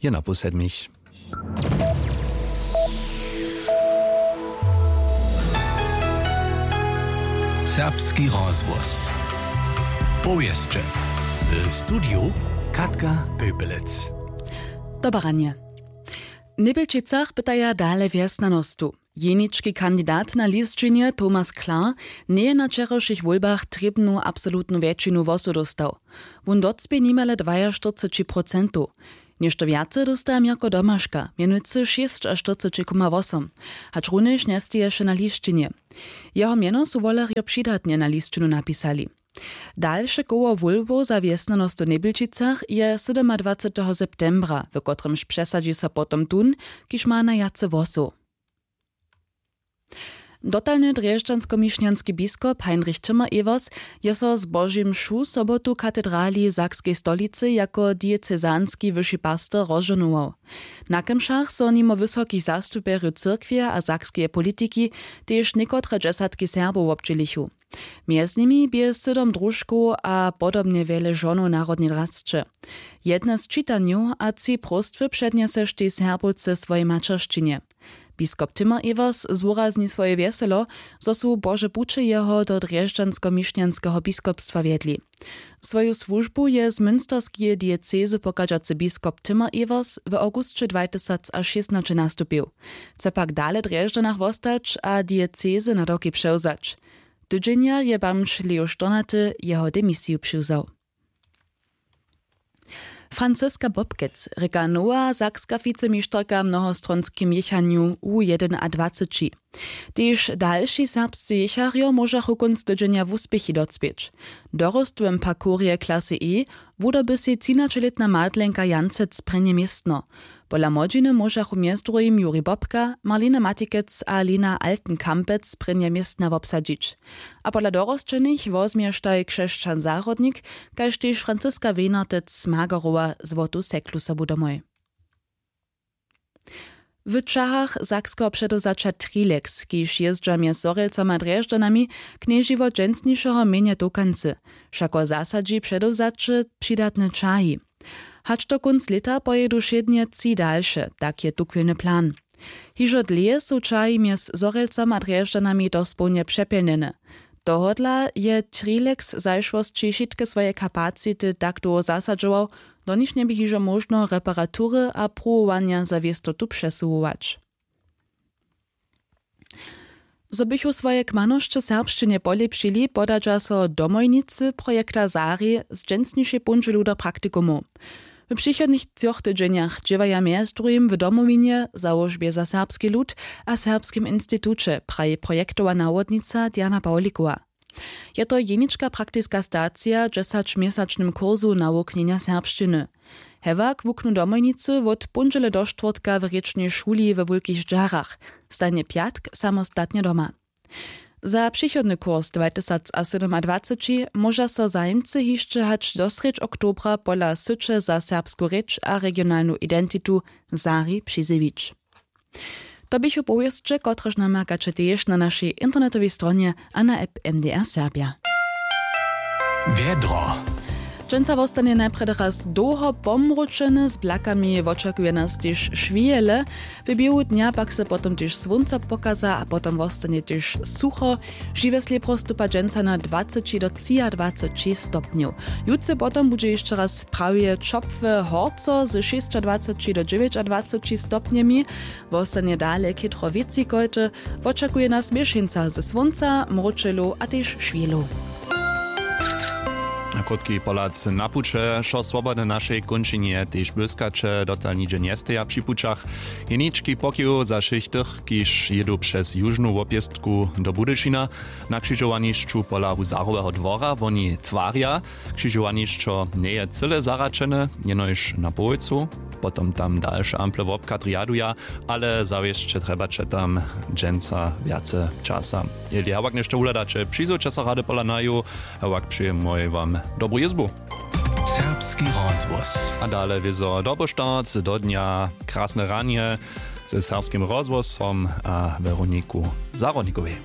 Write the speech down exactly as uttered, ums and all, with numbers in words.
Je na pół sedmich. Serbski rozhłos. Powěsće. W studiju Katka Pepelec. Dobaranje. W Njebjelčicach pytaja dale wjesnjanostu. Jenički kandidat na lisćinje Thomas Klar njeje na wčerawšich wólbach trěbnu absolutnu wjetšinu hłosow dóstał. Wón docpě nimale dwaještyrceći procentow. Něšto wjace dósta Měrko Domaška, mjenujcy šěsćaštyrceći koma wosom, hačrunjež njesteješe na lisćinje. Jeho mjeno su wolerjo přidatnje na lisćinu napisali. Dalše koło wólbow za wjesnjanosć w Njebjelčicach je sydomadwaceteho septembra, w kotrymž přesadźi so potom tón, kiž ma najwjace hłosow. Dotalny drježdźanskomišnjanski biskop Heinrich Timmer-Evers je so zbožej mšu sobotu w katedrali w sakskej stolicy jako diecezanski wyši pastor rozžohnował. Na kemšach so nimo wysokich zastupjerjow cyrkwje a sakskeje politiki tež někotre dźesatki Serbow wobdźělichu. Mjez nimi bě sydom družkow a podobnje wjele žonow narodnej drasće. Jedne z čitanjow a tři próstwy přednjeseštej Serbowce w swojej maćeršćinje. Biskop Timmer-Evers zwurazni swoje wjeselo, zo su Bože puće jeho do drježdźanskomišnjanskeho biskopstwa wjedli. Swoju słužbu je z münsterskeje diecezy pochadźacy biskop Timmer-Evers w awgusće dwajtysacašěsnaće nastupił. Chce pak dale w Drježdźanach wostać a diecezy na doki přewzać. Tydźenja je bamž Leo Štornaty jeho demisiju přiwzał. Franziska Bobkec rěka nowa sakska wicemišterka w mnohostronskym jěchanju U jedynadwaceći. Tež dalši serbscy jěcharjo móžachu kónc tydźenja wuspěchi docpěć. W dorostowym parkurje klasy E wudoby sej třinaćelětna Madlenka Jancec prěnje městno. Pola młodźiny móžachu mjez druhim Juri Bobka, Marlina Matikec a Lina Altenkampec prěnje městna wobsadźić. A pola dorosćenych wozmještaj Křesćan Zahrodnik, kaž tež Franziska Wejnartec z Magerowa złotu seklu sobu domoj. W ćahach sakskeho předewzaća Trilex, kiž jězdźa mjez Zhorjelcama a Drježdźanami, knježi wot dźensnišeho mjenje tokancy. Wšako zasadźi předewzaće přidatne ćahi. Hač do kónc lěta pojědu wšědnje tři dalše, tak je tuchwilny plan. Hižo dlěje su ćahi mjez Zhorjelcama a Drježdźanami dospołnje přepjelnjene. Tohodla je Trilex w zašłosći wšitke swoje kapacity tak dołho zasadźował, do nich njebě hižo móžno reparatury a pruwowanja za wěstotu přesuwować. Zo bychu swoje kmanosće w serbšćinje polěpšili, podadźa so domojnicy projekta Sari z dźensnišej póndźelu do praktikumow. W přichodnych třoch tydźenjach dźěłaja mjez druhim w Domowinje, załožbje za serbski lud a Serbskim instituće, praji projektowa nawodnica Diana Pawlikowa. Je to jenička praktiska stacija w dźesaćměsačnym kursu nawuknjenja serbšćiny. Hewak wuknu domojnicy wot póndźele do štwórtka w rěčnej šuli we Wulkich Ždźarach, stajnje pjatk samostatnje doma. Za přichodny kurs dwajtysacasydomadwaceći móža so zajimcy hišće hač do srjedź oktobra pola syće za serbsku rěč a regionalnu identitu Sari přizjewić. To běchu powěsće, kotrež namakać tež na našej internetowej stronje a na app M D R Serbja. Wjedro. Dźensa wostanje najprjedy raz dołho pomručeny, z blakami wočakuje nas tež šwějele. W běhu dnja pak se potom tež słónco pokaza a potom wostanje tež sucho. Žiwjesle prostupa dźensa na dwaceći do třiadwaceći stopnjow. Jutře potom budźe hišće raz prawje ćopłe horco ze šěsćadwaceći do dźewjećadwaceći stopnjemi. Wostanje dale chětro wětřikojty. Wočakuje nas měšeńca ze słónca, mróčelow a tež šwělow. A krótki pohlad na puće. Wšo swobodne w našej kónčinje tež błyskaće dotal nihdźe njesteja při pućach. Jenički pokiw za wšěch tych, kiž jědu přez južnu wobjěztku do Budyšina. Na křižowanišću pola huzaroweho dwora woni twarja. Křižowanišćo njeje cyle zahraćene, jenož na połojcu. Potom tam dalše ample wobchad rjaduja, ale zawěsće trjebaće tam dźensa wjace časa. Jeli hewak něšto wuhladaće, přizowće so rady pola naju. Hewak přejemoj wam dobru jězbu. Serbski rozhłos. A dale wězo doboštarc do dnja, krasne ranje ze Serbskim rozhłosom a Weroniku Zahrodnikowej.